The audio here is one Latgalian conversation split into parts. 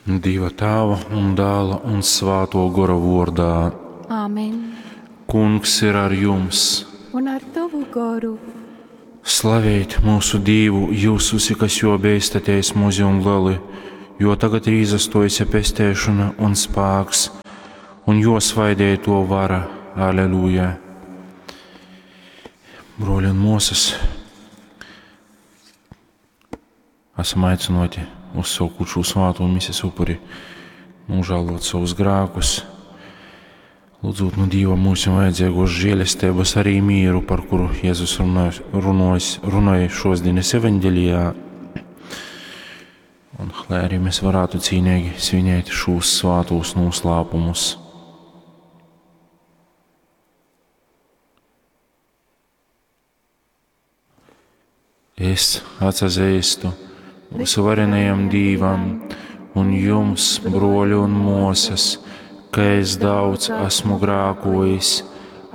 Dieva Tāva un Dāla un Svāto Gora vordā. Āmen. Kungs ir ar jums. Un ar tavu goru. Slavēt mūsu Dīvu, jūs visi, kas jo beistaties muzi un leli, jo tagad ir izastojusi pestēšana un spāks, un jo svaidēto vara. Aleluja. Broļi un mosas, esam aicināti uzsākot šo svāto mises upuri, nožēlot savus grēkus, lūdzot no Dieva mums vajadzīgos žēlestības, arī mieru, par kuru Jēzus runāja šos dienas evaņģelijā. Un lai arī mēs varētu cīnīgi svinēt šos svātos noslēpumus. Es atsazīstu visvarenajam Dīvam un jums, broļi un mosas, ka es daudz esmu grākojis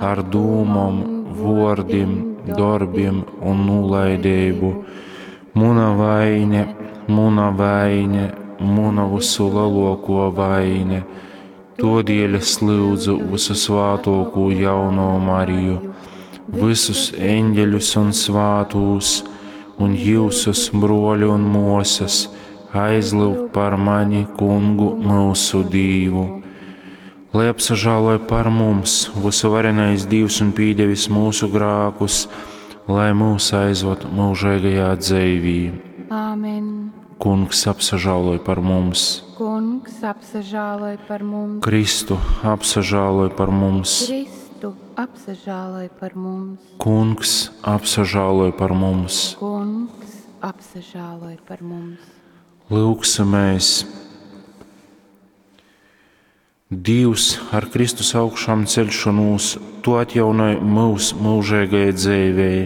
ar dūmom, vordim, darbiem un nulaidību. Muna vaine, muna vaine, muna visu lielāko vaine. Todēļ es lūdzu visu svātoko jauno Mariju, visus eņģeļus un svātūs, un jūsus broļi un mosas aizlūgt par mani, kungu mūsu Dīvu. Lai apsažāloja par mums visu varenais Dievs un pīdevis mūsu grākus, lai mūs aizved mūžīgajā dzīvī. Āmen. Kungs apsažāloja par mums. Kungs apsažāloj par mums. Kristu apsažāloj par mums. Kristu apsažāloj par mums. Kungs apsažāloj par mums. Kungs apsažāloj par mums. Lūgsimies! Dievs ar Kristus augšām celšanos, tu atjaunoji mūs mūžīgajai dzīvei.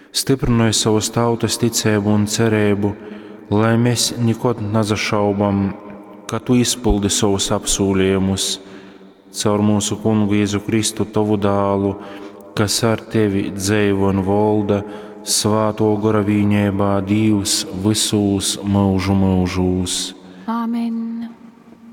Stiprināji savas tautas ticību un cerību, lai mēs nekad nezašaubam, ka tu izpildi savus apsolījumus caur mūsu kungu Jēzu Kristu, tavu dālu, kas ar tevi dzīvo un valda svāto gora vīņībā Dievs visūs mūžu mūžūs.